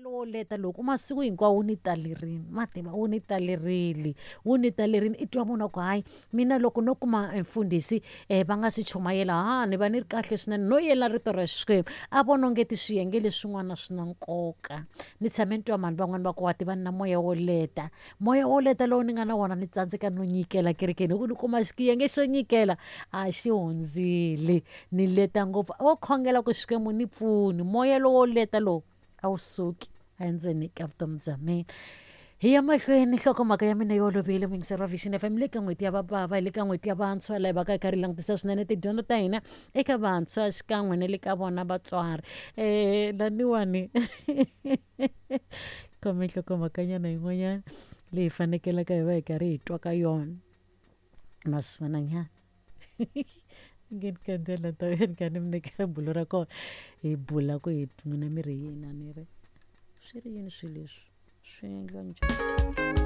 Wo leta loko masiku hinkwawo wu ni talerini ma tiva wu ni talerile, wu ni talerini. I twa munhu a ku, hayi, mina loko no kuma mfundhisi va nga si chumayela, ha ni va ni ri kahle swinene, no yela rito ra Xikwembu. A vona ongeti swiyenge leswin'wana swi na nkoka. Ni tshame ni twa mhani van'wani va ku, wa tiva, ni na moya wo leta, moya wo leta lowu ni nga na wona, ni tsandzeka no nyikela kerekeni hi ku ni kuma xiyenge xo nyikela a xi hundzile, ni leta ngopfu. Wo khongela ku Xikwembu ni pfuni, moya lowo leta lowu a wu suki endzeni ka vutomi bya mina. Hi ya mahlweni, nhlokomhaka ya mina yi olovile, muyingiseri wa Vision FM. Le ka n'hweti ya vabava, hi le ka n'hweti ya vantshwa, laha hi va ka hi karhi hi langutisa swinene tidyondzo ta hina eka vantshwa xikan'we na le ka vona vatswari. Laniwani khome nhlokomhakanyana yin'wanyana leyi fanekelaka hi va hi karhi hi twa ka yona, ma swi vonanyana nge ni kandzela ta ni kha ni mi nyika bulo ra kona, hi bula ku hi n'wina mi ri yini, a ni ri swi ri yini swilo leswi swi endliwa njhani.